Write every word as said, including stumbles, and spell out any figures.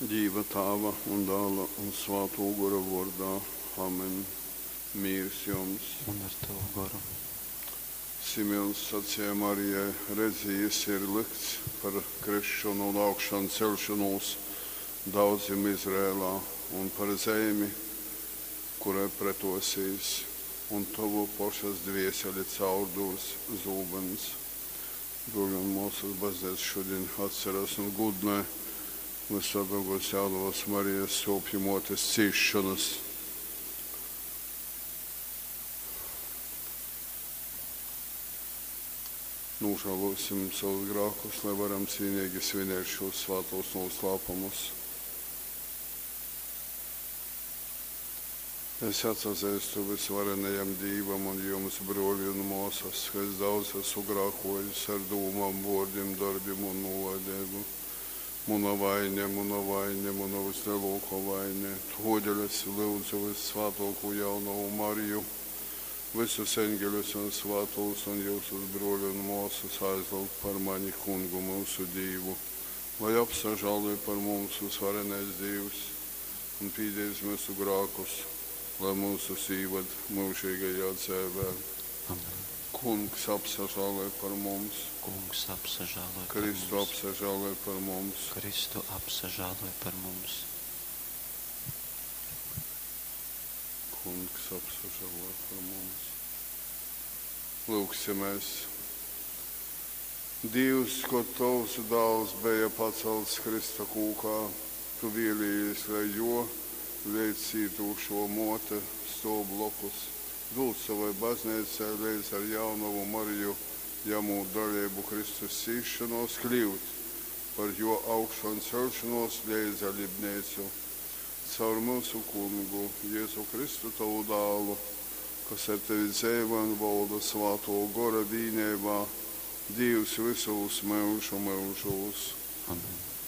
Dīva Tāva un Dāla un Svātō Gora vōrdā. Amen. Mīrs jums! Un ar tavu goru. Simeons saceja Marijai: Redzi, jys ir lykts par krisšonu un augšanceļšonūs daudzim Izraelā un par zeimi, kurai pretōsīs. Un tovu pošas dvēseli caurdūrs zūbyns. Brōli un mōsas, Bazneica šudiņ atceras un gūdynoj Vyssvātōkōs Jaunovas Marijas Sōpju Mōtes cīsšonas. Nūžālōsim savus grākus, lai varam cīneigi svinēt šūs svātūs nūslāpumus. Es atsazeistu vysvarenajam Dīvam un jums, brōli un mōsas, ka es daudz esmu grākōjis ar dūmom, vōrdim, dorbim un nūlaideibu. Muna vaine, muna vaine, muna vyslelōkō vaine. Tōdēļ es lyudzu vyssvātōkū Jaunovu Mariju, vysus eņgeļus un svātūs un jyusus, brōli un mōsas, aizlyugt par mani Kungu myusu Dīvu, lai apsažāloj par mums vysvarenais Dīvs un pīdēdz myusu grākus, lai myusus īvad myužeigajā dzeivē. Amen. Kungs apsažāloj par mums. Kungs apsažāloj par Kristu mums. Apsažāloj par mums. Kristu apsažāloj par mums. Kungs apsažāloj par mums. Lūgsimies. Dievs, kod tovs dāls beja pacelts Krista kūkā, tu vēlējies, lai jo leidzcītušo mōte stōv blokus. Dūd savai bazneicai leidz ar jaunovu Mariju, jamūt daleibu Kristus cīsšonōs, kļyut par jō augšanceļšonōs leidzdalibneicu. Caur myusu Kungu, Jezu Kristu, tovu dālu, kas ar tevi dzeivoj un volda Svātō Gora vīneibā, Dīvs vysūs myužu myužūs. Amen.